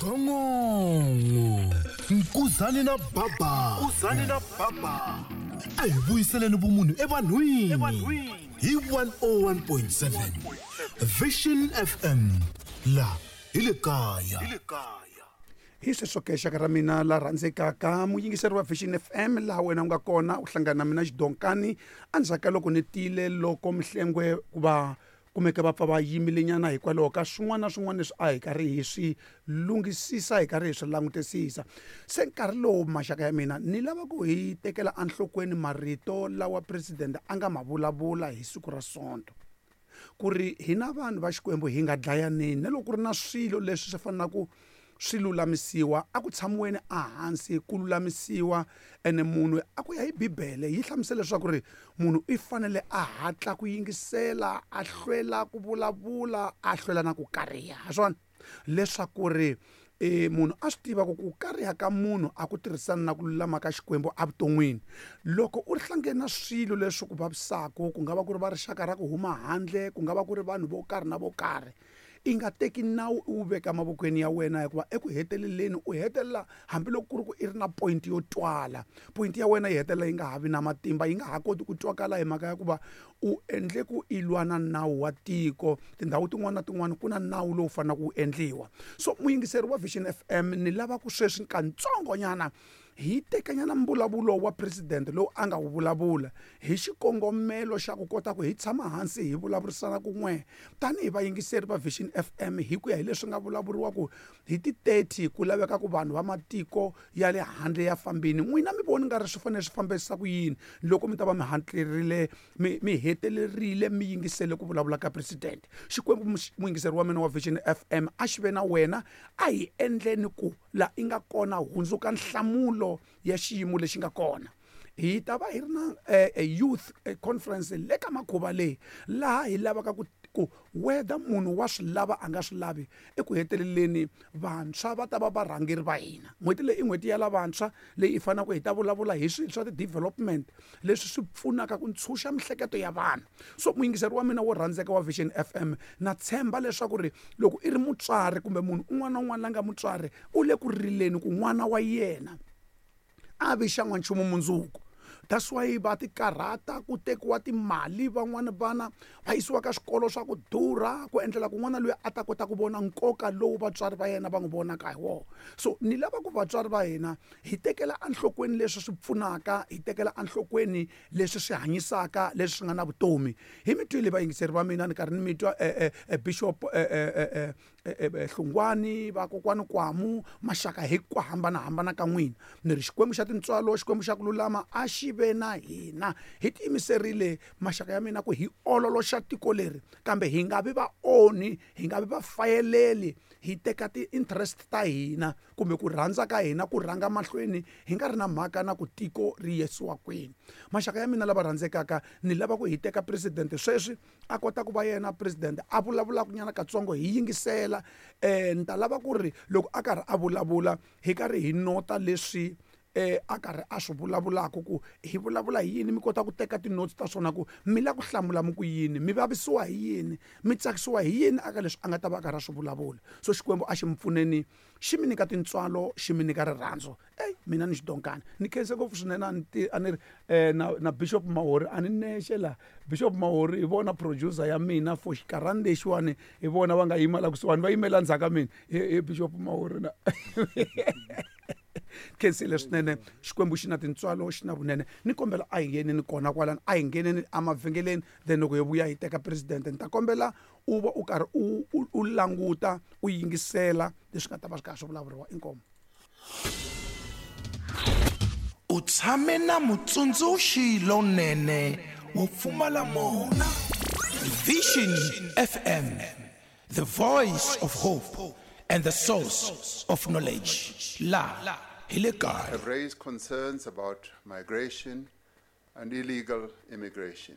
Gongongo Nkuzani na Baba Nkuzani na Baba a hi vuyiseleni vumunhu evanhwini hi 101.7 Vision FM la hi le kaya Hi sweswo ke, xaka ra mina la rhandzekaka, muyingiseri wa Vision FM, laha wena u nga kona u hlangana na mina Xidonkani endzhaku ka loko ni tile loko Mhlengwe ku va kumeke va pfa va yimilenyana hikwalaho ka swin'wana na swin'wana leswi a hi karhi hi swi lunghisisa, hi karhi hi swi langutisisa. Se nkarhi lowu, maxaka ya mina, ni lava ku hi tekela enhlokweni marito lawa president a nga ma vulavula hi siku ra Sonto, ku ri hina vanhu va Xikwembu hi nga dlayaneni, na loko ku ri na swilo leswi swi fanelaka swi lulamisiwa, a ku tshamiweni ehansi ku lulamisiwa. Ene munhu a ku ya hi Bibele yi hlamusela leswaku ri munhu i fanele a hatla ku yingisela, a hlwela ku vulavula, a hlwela na ku kariha. Ha swona leswaku ri munhu a swi tiva ku ku kariha ka munhu a ku tirhisani na ku lulama ka Xikwembu evuton'wini. Loko u hlangene na swilo leswi ku vavisaka, ku nga va ku ri va rixaka ra ku huma handle, ku nga va ku ri vanhu vo karhi na vo karhi, i nga teki nawu u wu veka mavokweni ya wena, hikuva eku heteleleni u hetelela, hambiloko ku ri ku i ri na point yo twala, point ya wena yi hetelela yi nga ha vi na matimba, yi nga ha koti ku twakala, hi mhaka ya ku va u endle ku i lwa na nawu wa tiko. Tindhawu tin'wana na tin'wana ku na nawu lowu faneleke wu endliwa. So muyingiseri wa Vision FM, ni lava ku sweswi katsongonyana hi tekanyana mbulavulo wa president lowu a nga wu vulavula hi xikongomelo xa ku kota ku hi tshama hansi hi vulavurisana kun'we tanihi vayingiseri va Vision FM, hi ku ya hi leswi nga vulavuriwa ku hi ti 30 ku laveka ku vanhu va matiko ya le handle ya fambini. N'wina mi voni nga ri swi fanele swi fambisa ku yini loko mi ta va mi hatlerile mi hetelerile mi yingisele ku vulavula ka president? Xikwembu, muyingiseri wa mina wa Vision FM, a xi ve na wena. A hi endleni ku la i nga kona hundzuka nhlamulo ya xiyimo lexi nga kona. Hi ta va hi ri na youth conference le ka makhuva leyi, laha hi lavaka ku whether munhu wa swi lava a nga swi lavi, eku heteleleni vantshwa va ta va varhangeri va hina. N'hweti leyi i n'hweti ya lavantshwa leyi hi faneleke hi ta vulavula hi swilo swa ti-development leswi swi pfunaka ku ntshunxa mihleketo ya vanhu. So muyingiseri wa mina wo rhandzeka wa Vision FM, na tshemba leswaku ri loko i ri mutswari kumbe munhu un'wana na un'wana la nga mutswari u le ku rileni ku n'wana wa yena a vi xa n'wanchumu mundzuku. That's why va ti karhata ku tekiwa timali, van'wani vana va yisiwa ka swikolo swa ku durha ku endlela ku n'wana loyi a ta kota ku vona nkoka lowu vatswari va yena va n'wi vonaka hi wona. So ni lava ku vatswari va hina hi tekela enhlokweni leswi swi pfunaka, hi tekela enhlokweni leswi swi hanyisaka, leswi swi nga na vutomi. Hi mi twile vayingiseri va mina, ni karhi ni mi twa Bishop Hlungwani, vakokwani Kwamu, maxaka hi ku hambanahambana ka n'wina. Ni ri Xikwembu xa tintswalo, Xikwembu xa ku lulama a xi ve na hina. Hi tiyimiserile maxaka ya mina ku hi ololoxa tiko leri, kambe hi nga vi vaonhi, hi nga vi vafayeleli, hi teka ti-interest ta hina kumbe ku rhandza ka hina ku rhanga mahlweni, hi nga ri na mhaka na ku tiko ri yisiwa kwini. Maxaka ya mina lava rhandzekaka, ni lava ku hi teka president sweswi a kota ku va yena president a vulavulaka nyana katsongo, hi yingisela. Ni ta lava ku ri loko a karhi a vulavula hi karhi hi nota leswi a karhi a swi vulavulaka, ku hi vulavula hi yini, mi kota ku teka ti-notes ta swona, ku mi lava ku hlamula mi ku yini, mi vavisiwa hi yini, mi tsakisiwa hi yini aka leswi a nga ta va a karhi a swi vulavula. So Xikwembu a xi mi pfuneni, xi mi nyika tintswalo, xi mi nyika rirhandzu. Ey, mina ni Xidonkani ni khense ngopfu swinene. A ni ti a ni ri na Bishop Mahori, a ni nexe la. Bishop Mahori hi vona producer ya mina for xikarhani lexiwani, hi vona va nga yima la kusuhani, va yimela ndzhaku ka mina hi Bishop Mahori na khensile swinene. Xikwembu xi na tintswalo, xi na vunene. Ni kombela a hi ngheneni kona kwalano, a hi ngheneni emavhengeleni, then loko hi vuya hi teka president. Ni ta kombela u va u karhi u languta, u yingisela leswi nga ta va swi karhi swi vulavuriwa. Inkomu. U tshame na mutsundzuxi lonene wo pfumala mona. Vision FM, the voice of hope and the source of knowledge. La hi le kaya. Have raised concerns about migration and illegal immigration.